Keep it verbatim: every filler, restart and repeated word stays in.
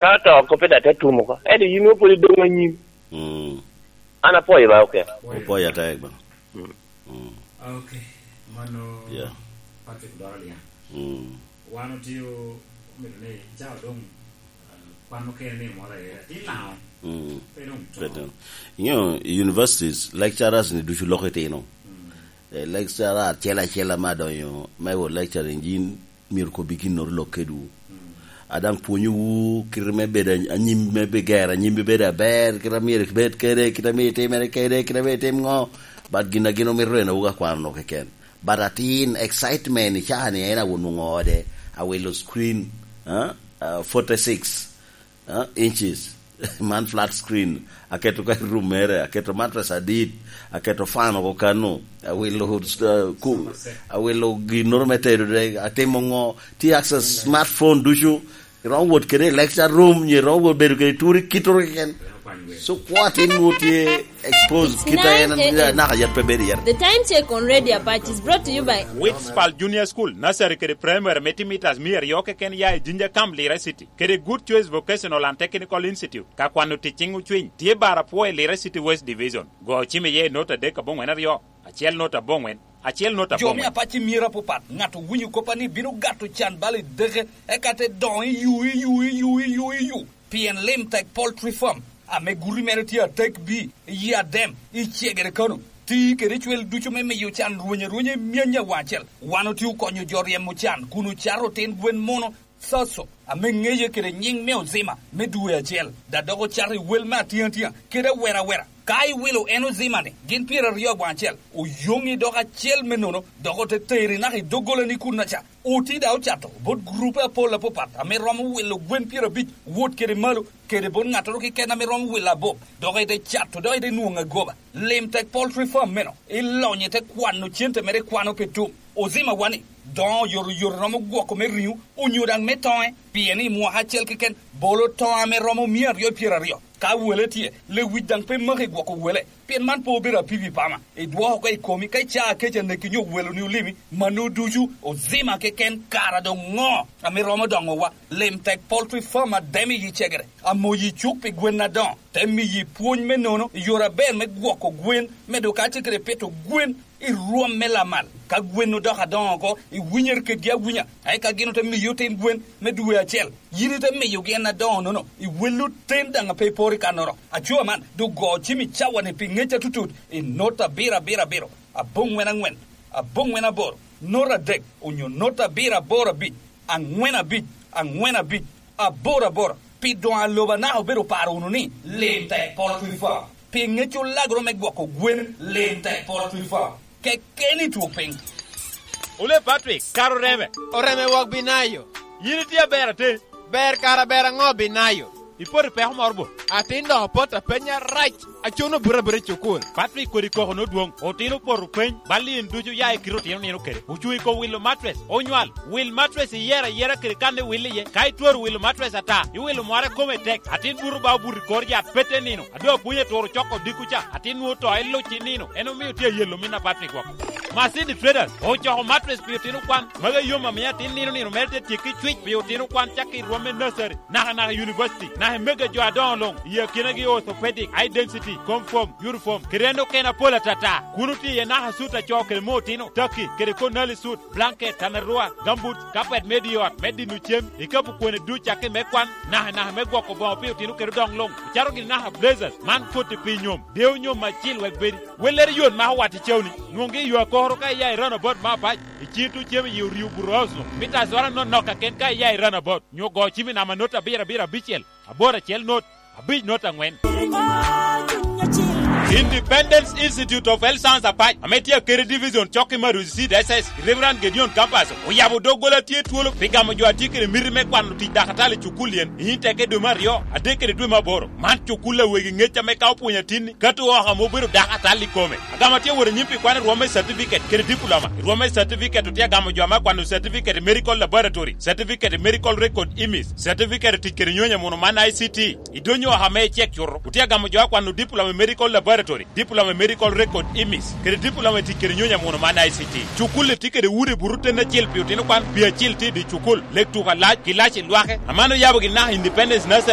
Ka to oko pe daŋ te tum oko. Ento yin wopwod idoŋ anyim. Mm. An apwoyo ba, oke. Opoyo atek ba. Mm. Mm. Okay. Mano, yeah. Patrick Doro Liang. Mm. Wan otio, omito ni ca doŋ, uh, kwan okene ni moro aye. Atin nao. Mm. Pe doŋ to. Pe doŋ. You know, universities, lecturers ni ducu lok itino. Mm. Eh, lecturer acel acel ame adonyo, me wo lecturing, yin myero kobbi ginnoro lok kedwu. Mm. A daŋ pwonyowu kite me bedo any-, anyim me be ger, anyim me bedo aber, kite a myero ibed kede, kite a myero itimere kede, kite a myero itim ŋo. But gin a gin omito en awogo akwano keken. But atin excitement i caa ni en awon nwoŋo ode, awilo screen, ah, ah, forty-six, ah, inches. Man flat screen. Aketo ka i room mere, aketo mattress adit, aketo fan oko kano, awilo, uh, ku-, awilo ginnoro me tedo de, atimo ŋo, ti access smartphone ducu, iromo wot kede i lecture room, nyo iromo wot bedo kede turi kitoro keken. So, kwo atin nwoŋo tye exposed, kita en, naka yat pe bedo yat. The Time Check on Radio Apache is brought to you by Witspal Junior School, nursery kede primary, me timo mitas mia aryo keken ya i Jinja Camp, Lira City. Kede Good Choice Vocational and Technical Institute, ka kwano tic ciŋ ocwiny, tye bara pwo i Lira City West Division. Go cim iye i not adek aboŋwen aryo, acel not aboŋwen, acel not aboŋwen. Jo me Apache myero apapat, ŋat owinyo koppa ni bino gato can bal i deke, eka te doŋo i yu, i yu, i yu, i yu, i yu. Pien Lim Tek Poultry Farm, ame guti mere tye atek bi, i yi Adem, i Cegere Kano, ti kede cwel ducu me miyo can rweny arwenya i myany awaŋ acel. Wan otye okonyo jo ryemo can kun ocato otin gwen muno, Soso, ame ŋeye kede nyiŋ me Ozima me dwe acel, da dok ocato i wel me atiŋatia kede awera awera. Ka iwilo en Ozima-ni, gin pyeraryo aboŋo acel, oyoŋi dok acel me nono, dok ote teri naka i doggolani kunnaca. Oti da ocato bot gurupe apol apapat ame romo wilo gwen pyerabic wot kede malo, kede bot ŋattoro keken ame romo wilo abop, dok ite cato, dok ite nwoŋo agoba. Lim Tek Poultry Farm meno, ilonyo ite kwano cente mere ikwano pi tum. Ozima wani, doŋo oyotoyot romo gwoko me riŋo, onyo daŋ me toŋe, pien i mwaka acel keken, bolo toŋo ame romo mia aryo pyeraryo. Ka wele tye, lewic daŋ pe maki gwoko wele, pien man pe obedo apipi pama. Idwoko oko i komi, ka icaa kec aneki nyo weloni olimi, mano ducu, Ozima keken, kara doŋ ŋo ame romo doŋowa? Lim Tek Poultry Farm ademo i Cegere, amoyi cuk pi gwen adoŋo, te miyi pwony me nono i yore aber me gwoko gwen, medo kacel kede pito gwen i rwom me lamal. Ka gwen odoko adoŋo oko, iwinyere kedgi awinya, eka gin ote miyi otin gwen me dwe acel. Yin ite miyogi en adoŋo-nono, iwello ten daŋ a pe iporo i kannoro. Aco man, doŋ go cim i cawa-ni pi ŋec atutut i not abiro abiro abiro, aboŋwen aŋwen, aboŋwen aboro, not adek, onyo not abiro aboro abic, aŋwen abic, aŋwen abic, aboro aboro, pi doŋ aloba naka obedo paro wunu ni, Lim Tek Poultry Farm. Pi ŋec olagoro me gwoko gwen, Lim Tek Poultry Farm. Keken i twok piny. Ole Patrick, kara oreme. Oreme wok Binayo. Yin itye aber atin. Ber kara ber aŋo Binayo? Ipoto i peko moro bo? Atin dok opot apenya rac. Acono buto abuta i cukul. Patrick kodi koko nodwoŋ. Otino opoto peny. Bal in ducu ya i kite otino nino kede. Ocuŋ i kom wilo matres. Onywal. Wil matres iyero ayera kede kan iwil iye. Ka itwero wilo matres ata, iwilo mware kome tek. Atin buto ba obuto i kor yat pete nino. A doŋ apwony aturo coko odiko ca, atin nwoŋo to eluc i nino, en omio tye ayelo min apat i gwok. Masini Traders ocoko matres pi otino kwan, magi yom amiyo atin nino nino mere te tyekki cwic pi otino kwan cakki i rwom me nursery, naka naka i university, naka i mega jo adoŋo luŋ, i akinagi orthopedic, high density, comfort, uniform, kede en okene apol atata. Kun otye iye naka sut acoo kede me otino, taki, kede konali sut, blanket, tanarua, gambut, kapet me di ot, me dino cem, ikapu kwene duc cakki me kwan, naka naka me gwoko boŋo pi otino kede odoŋ luŋ, ocato gini naka blazers, man koti pi nyom, deyo nyom acil wek bedi. Wellere yot ma owat i cewni, nwoŋgi i yo akoro ka iya i roundabout me apac, i cito cem i orio buto house luŋ, mita azora nonok kaken ka iya i roundabout, nyo go cimi nama not abiro abiro abicel, aboro acel not, abic not aŋwen. Independence Institute of Health Science Apac, ame tye akeri division cok i Maruzi Seed S S, Reverend Gedeon Campus, oyabo doggola tye twolo pi gamo jo a tye kede miti me kwano tic dakatali i cukul yen, i nyinte ke dwe me aryo, adek kede dwe me aboro. Man cukul a wegi ŋec ame ka opwonyo atinni, kato oko ame obedo dakatali i kome. Agamo tye wot anyim pi kwano i rwom me certificate kede diploma. I rwom me certificate otye agamo jo ame kwano certificate i medical laboratory, certificate i medical record imis, certificate tic kede nyonyo muno man I C T. I dwonyo oko ame icek cuto, otye agamo jo a kwano diploma i medical laboratory. Laboratory, Diploma i Medical Record, imis, kede Diploma i tic kede nyonyo amuno man I C T. Cukul-li tye kede udi buto ten acel pi otino kwan, pi acil tye i dye cukul, lek tuko alac, ki lac i lwake. Aman oyabo gin naka Independence Nursery